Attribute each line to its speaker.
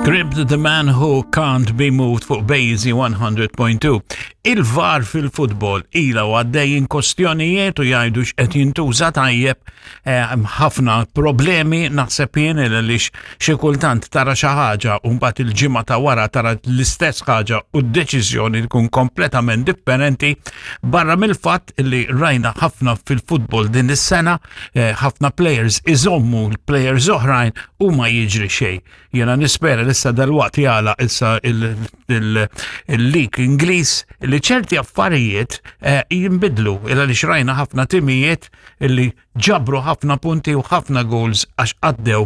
Speaker 1: Script The Man Who Can't Be Moved fuq Bejzi 100.2. Il-VAR fil-futbol ila u għaddejjin kostjonijiet u jgħidu x'qed jintuża tajjeb eh, ħafna problemi naħseb jien għaliex xi kultant tara xi ħaġa u mbagħad il-ġimgħa ta' wara tara l-istess ħaġa u d-deċiżjoni tkun kompletament differenti barra mill-fatt li rajna ħafna fil-futbol din is-sena eh, ħafna players iżommu l-players oħrajn u ma jiġri xejn. Jena nispera li issa dalwaqt jala issa il-lik Ingliż li ċerti affarijiet eh, jinbidlu il għaliex rajna ħafna timijiet li ġabru ħafna punti u ħafna goals għax għaddew